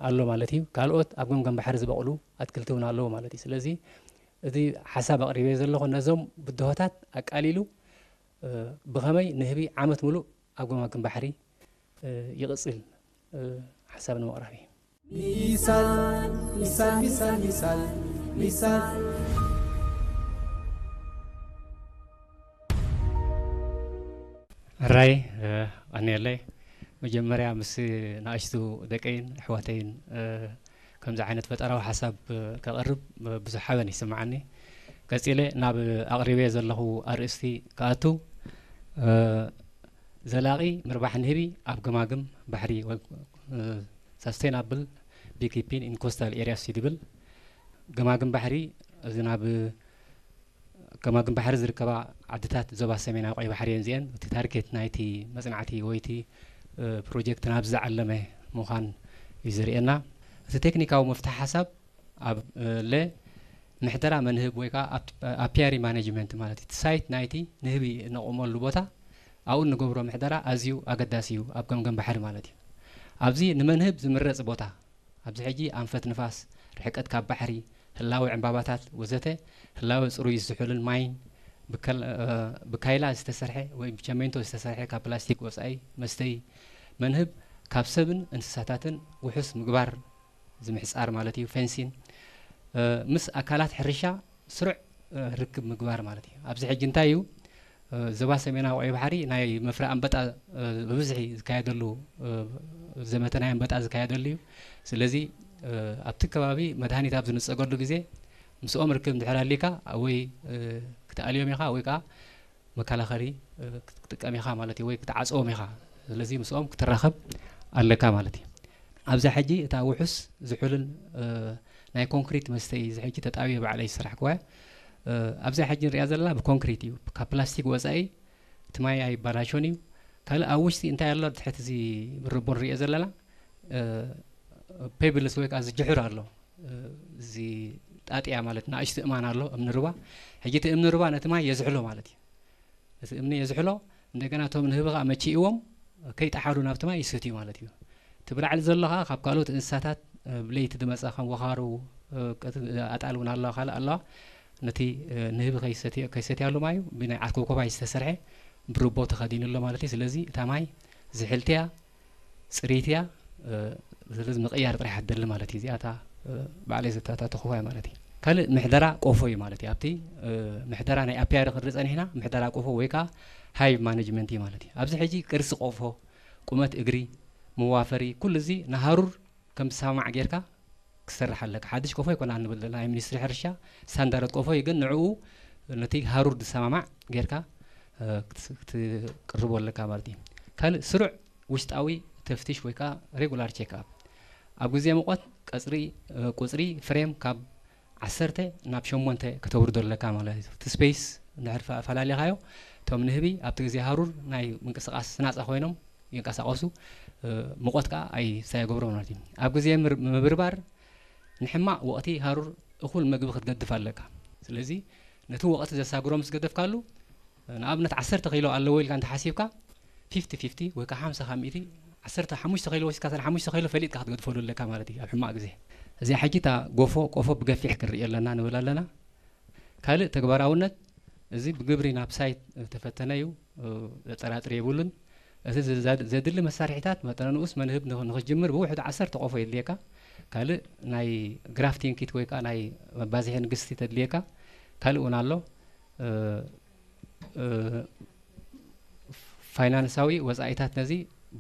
ኣሎ ማለት እዩ። ካልኦት ኣብ ገምገም ባሕሪ ዝበቕሉ ኣትክልቲ እውን ኣለዉ ማለት እዩ። ስለዚ እቲ ሓሳብ ኣቕሪበ ዘለኹ ነዞም ብድሆታት ኣቃሊሉ ብኸመይ ንህቢ ዓመት ሙሉእ ኣብ ገማግም ባሕሪ ይቕፅል ሓሳብ ንምቕራብ እዩ። ሚሳል ሚሳል ሚሳል ሚሳል ሚሳል ሕራይ ቀኒየለይ። መጀመርያ ምስ ንኣሽቱ ደቀይን ኣሕዋተይን ከምዚ ዓይነት ፈጠራዊ ሓሳብ ከቕርብ ብዙሕ ሓበን ይስምዓኒ። ቀጺለ ናብ ኣቕሪበ ዘለኹ ኣርእስቲ ክኣቱ፣ ዘላቒ ምርባሕ ንህቢ ኣብ ገማግም ባሕሪ ወይ sustainable beekeeping in coastal areas እዩ ዝብል። ገማግም ባሕሪ እዚ ናብ ገማግም ባሕሪ ዝርከባ ዓድታት ዞባ ሰሜናዊ ቀይ ባሕሪ እየን እዚአን። እቲ ታርጌት ናይቲ መጽናዕቲ ወይ እቲ ፕሮጀክት ናብዚ ዝዓለመ ምዃን እዩ ዘርእየና። እቲ ቴክኒካዊ መፍትሒ ሓሳብ ኣብ ለ ምሕደራ መንህብ ወይ ከዓ ኣፒያሪ ማኔጅመንት ማለት እዩ። እቲ ሳይት ናይቲ ንህቢ እነቑመሉ ቦታ ኣብኡ እንገብሮ ምሕደራ ኣዝዩ ኣገዳሲ እዩ ኣብ ገምገም ባሕሪ ማለት እዩ። ኣብዚ ንመንህብ ዝምረፅ ቦታ ኣብዚ ሕጂ ኣንፈት ንፋስ፣ ርሕቀት ካብ ባሕሪ፣ ህላወ ዕምባባታት ወዘተ፣ ህላወ ጽሩይ ዝሑልን ማይን፣ ብካይላ ዝተሰርሐ ወይ ብቸሜንቶ ዝተሰርሐ ካብ ፕላስቲክ ወጻኢ መስተዪ መንህብ ካብ ሰብን እንስሳታትን ውሑስ ምግባር፣ እዚ ምሕጻር ማለት እዩ፣ ፌንሲን፣ ምስ ኣካላት ሕርሻ ስሩዕ ርክብ ምግባር ማለት እዩ። ኣብዚ ሕጂ እንታይ እዩ ዞባ ሰሜናዊ ቀይ ባሕሪ ናይ መፍረ ኣንበጣ ብብዝሒ ዝካየደሉ ዘመተ ናይ ኣንበጣ ዝካየደሉ እዩ። ስለዚ ኣብቲ ከባቢ መድሃኒት ኣብ ዝንጸገሉ ግዜ ምስኦም ርክብ እንድሕር ኣሊካ ወይ ክትኣልዮም ኢኻ ወይ ከዓ መከላኸሊ ክትጥቀም ኢኻ ማለት እዩ፣ ወይ ክትዓጽዎም ኢኻ። ስለዚ ምስኦም ክትራኸብ ኣለካ ማለት እዩ። ኣብዛ ሕጂ እታ ውሑስ ዝሑልን ናይ ኮንክሪት መስተ እዩ። እዚ ሕጂ ተጣብየ ባዕለይ ዝሰራሕክዋ እያ። ኣብዛ ሕጂ ንሪኣ ዘለና ብኮንክሪት እዩ፣ ካብ ፕላስቲክ ወፃኢ እቲ ማይ ኣይባላሾን እዩ። ካልእ ኣብ ውሽጢ እንታይ ኣሎ? ትሕቲ እዚ ብርቦ ንሪኦ ዘለና ፔብልስ ወይ ከዓ ዝጅሕር ኣሎ፣ እዚ ጣጥያ ማለት ንኣሽቱ እማን ኣሎ፣ እምኒ ርባ። ሕጂ እቲ እምኒ ርባ ነቲ ማይ የዝሕሎ ማለት እዩ። እቲ እምኒ የዝሕሎ፣ እንደገና እቶም ንህቢ ከዓ መቺእዎም ከይጠሓሉ ናብቲ ማይ ይሰትዩ ማለት እዩ። እቲ ብላዕሊ ዘሎ ከዓ ካብ ካልኦት እንስሳታት ብለይቲ ዝመፃ ከም ወኻሩ ኣጣል እውን ኣለዋ፣ ካልእ ኣለዋ። ነቲ ንህቢ ከይሰትያሉ ማዩ ብናይ ዓኮኮባይ ዝተሰርሐ ብርቦ ተኸዲኑ ኣሎ ማለት እዩ። ስለዚ እታ ማይ ዝሕልቲ እያ፣ ፅርይቲ እያ። ስለዚ ምቕያር ጥራሕ ትደሊ ማለት እዩ። እዚኣታ ባዕለይ ዘተኣታተኹዋ ማለት እዩ። ካልእ ምሕደራ ቆፎ እዩ ማለት እዩ። ኣብቲ ምሕደራ ናይ ኣፒያሪ ክንርኢ ፀኒሕና ምሕደራ ቆፎ ወይ ከዓ ሃይቭ ማኔጅመንት እዩ ማለት እዩ። ኣብዚ ሕጂ ቅርፂ ቆፎ፣ ቁመት እግሪ፣ መዋፈሪ፣ ኩሉ እዚ ንሃሩር ከም ዝሰማማዕ ጌርካ ክሰርሕ ኣለካ። ሓድሽ ቆፎ ይኮና ንብል ዘለና ናይ ሚኒስትሪ ሕርሻ ስታንዳርድ ቆፎ እዩ፣ ግን ንዕኡ ነቲ ሃሩር ዝሰማማዕ ጌርካ ክትቅርቦ ኣለካ ማለት እዩ። ካልእ ስሩዕ ውሽጣዊ ተፍትሽ ወይ ከዓ ሬጉላር ቼክ ኣፕ ኣብ ግዜ ሙቐት ቀፅሪ ቁፅሪ ፍሬም ካብ ዓሰርተ ናብ ሸሞንተ ከተውርዶ ኣለካ ማለት እዩ። እቲ ስፔስ እንድሕር ፈላሊኻዮ እቶም ንህቢ ኣብቲ ግዜ ሃሩር ናይ ምንቅስቃስ ስናፃ ኮይኖም ይንቀሳቀሱ፣ ሙቐት ከዓ ኣይሳየገብሮ ማለት እዩ። ኣብ ግዜ ምብርባር ንሕማቕ ወቕቲ ሃሩር እኹል መግቢ ክትገድፍ ኣለካ። ስለዚ ነቲ ወቕቲ ዘሳግሮ ምስ ገደፍካሉ ንኣብነት ዓሰርተ ኪሎ ኣለዎ ኢልካ እንተሓሲብካ ፊፍቲ ፊፍቲ ወይ ከዓ ሓምሳ ካብ ሚእቲ ዓሰርተ ሓሙሽተ ኪሎ ወሲድካ ሓሙሽተ ኪሎ ፈሊጥካ ክትገድፈሉ ኣለካ ማለት እዩ ኣብ ሕማቕ ግዜ። እዚኣ ሕጂ እታ ጎፎ ቆፎ ብገፊሕ ክንርእዮ ኣለና ንብል ኣለና። ካልእ ተግባራውነት እዚ ብግብሪ ናብ ሳይት ተፈተነ እዩ፣ ዘጠራጥር የብሉን። እቲ ዘድሊ መሳርሒታት መጠነ ንኡስ መንህብ ንኽጅምር ብውሕዱ ዓሰርተ ቆፎ የድልየካ። ካልእ ናይ ግራፍቲንግ ኪት ወይ ከዓ ናይ መባዝሒ ንግስቲ ተድልየካ። ካልእ እውን ኣሎ። ፋይናንሳዊ ወፃኢታት ነዚ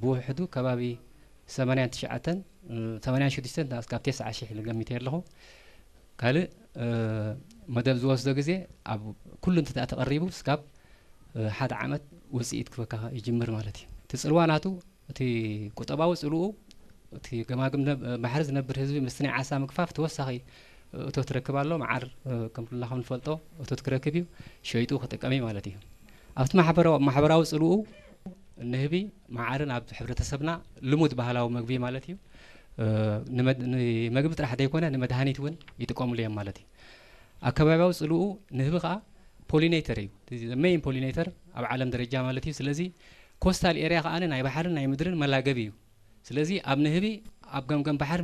ብውሕዱ ከባቢ ሰማንያን ትሽዓተን ሰማንያን ሽዱሽተን እስካብ ተስዓ ሽሕ ኢለ ገሚተ ኣለኹ። ካልእ መደብ ዝወስዶ ግዜ ኣብ ኩሉ እንተ ተቐሪቡ እስካብ ሓደ ዓመት ውፅኢት ክበካ ይጅምር ማለት እዩ። እቲ ፅልዋ ናቱ እቲ ቁጠባዊ ፅልኡ እቲ ገማግም ባሕሪ ዝነብር ህዝቢ ምስቲ ናይ ዓሳ ምግፋፍ ተወሳኺ እቶት ክረክብ ኣሎ። መዓር ከም ኩልና ከም ንፈልጦ እቶት ክረክብ እዩ፣ ሸይጡ ክጥቀም እዩ ማለት እዩ። ኣብቲ ማሕበራዊ ፅልኡ ንህቢ መዓርን ኣብ ሕብረተሰብና ልሙድ ባህላዊ መግቢ ማለት እዩ። ንመግቢ ጥራሕ ዘይኮነ ንመድሃኒት እውን ይጥቀምሉ እዮም ማለት እዩ። ኣብ ከባቢያዊ ፅልኡ ንህቢ ከዓ ፖሊኔተር እዩ፣ ሜይን ፖሊኔተር ኣብ ዓለም ደረጃ ማለት እዩ። ስለዚ ኮስታል ኤርያ ከዓ ናይ ባሕርን ናይ ምድርን መላገቢ እዩ። ስለዚ ኣብ ንህቢ ኣብ ገምገም ባሕሪ